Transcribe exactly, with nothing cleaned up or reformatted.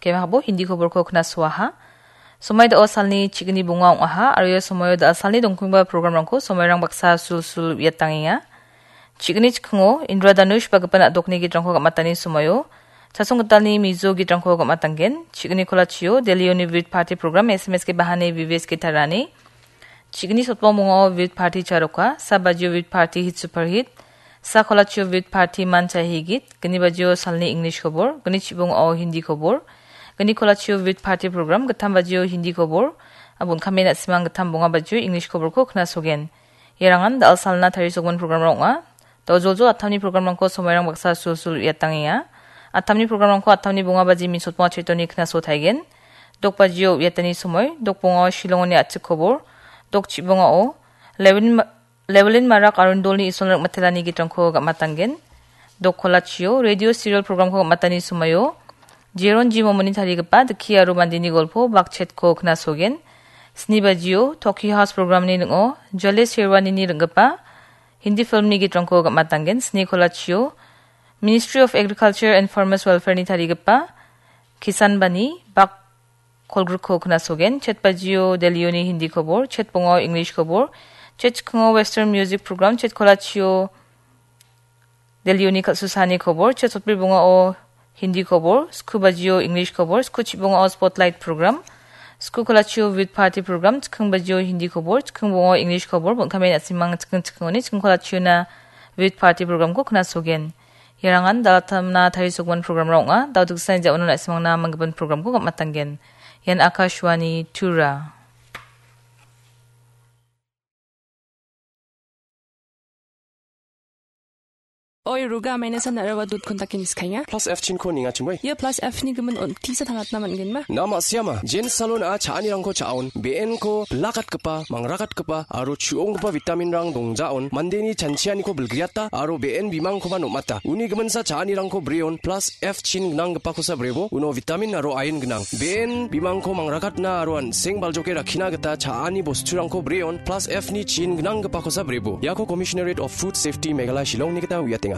Kemahabo Hindi koborko knasoaha. Somoi da·o salni chigni bonga ong·aha, aro ia somoio da·a salni dongkingba programrangko somoirang baksa sulsul uiatangenga. Chigni chikingo Indra Danush bagipa na·dokni gitrangko gam·atani somoio, Chasong Gitalni Mizo gitrangko gam·atanggen. Chigni kolachio Delhi Univit Party Program S M S K Bahani V V S K Tarani. Chigni sotbong bongao Vit Party Charoka, sa bajio Vit Party Hit Super Hit, sa kolachio Vit Party Man Chahi Git, gni bajio salni English kobor, gni chibongao Hindi kobor, gni kolachio Vit Party Program, gittam bajio Hindi kobor, abun kame na·simang gittam bonga bajio English koborko knasogen. Iarangan da·al salna tarisokman programrang ong·a. Dojoljo attamni programrangko somoirang baksa sulsul uiatangenga. Attamni programrangko attamni bonga baji min sotbong achitoni knaso taigen. Dok bajio uiatani somoi, dok bongao Shillongoni a·chik kobor, dok chibongao Lewin Ma-, Lewilin Marak Arundolni Isol Rikmatelani gitrangko gam·atanggen. Dok kolachio radio serial programko gam·atani somoio, Jeron G Momoni tarigipa Dikhi aro Mandini Golpo Bakchetko knasogen. Sni bajio Tokyo House programni ning·o Jale Sherwanini ring·gipa Hindi filmni gitrangko gam·atanggen. Sni kolachio Ministry of Agriculture and Farmers Welfareni tarigipa Kisan Bani Bak kolgrikko knasogen. Chet bajio Delhioni Hindi kobor, chet bongao English kobor, chet chikingo Western Music Program, chet kolachio Delhioni kal·susani kobor, chet sotbri bongao Hindi kobor, sku bajio English kobor, sku chibongao Spotlight Program, sku kolachio Vit Party Program, chiking bajio Hindi kobor, chiking bongao English kobor, bon kame na·simang chiking chikingoni chiking kolachiona Vit Party Programko knasogen. Iarangan da·al attamna tarisokman programrang ong·a. Da·o diksa ja·ono na·simangna manggipan programko gam·atanggen. Ian Akashvani Tura. Oi, Ruga, maina san nara wa dut kontak in skainga. Plus F chin ko ninga chumbai. Ia plus F ni gimin on tisa tangatna man gen ma? Nama siama, Jen Salon a cha·anirangko cha·on, B N ko bilakatgipa, mangrakatgipa, aro chu·onggipa vitamin rang dongjaon, mandeni chanchianiko bilgriata, aro B N bimangkoba nom·ata. Uni giminsa cha·anirangko breon, plus F chin gnanggipakosa brebo, uno vitamin aro iron gnang. B N bimangko mangrakatna aro an·seng baljoke rakkina gita cha·ani bosturangko breon, plus F ni chin gnanggipakosa brebo. Iako Commissionerate of Food Safety Meghalaya Shillong ni gita uiatenga.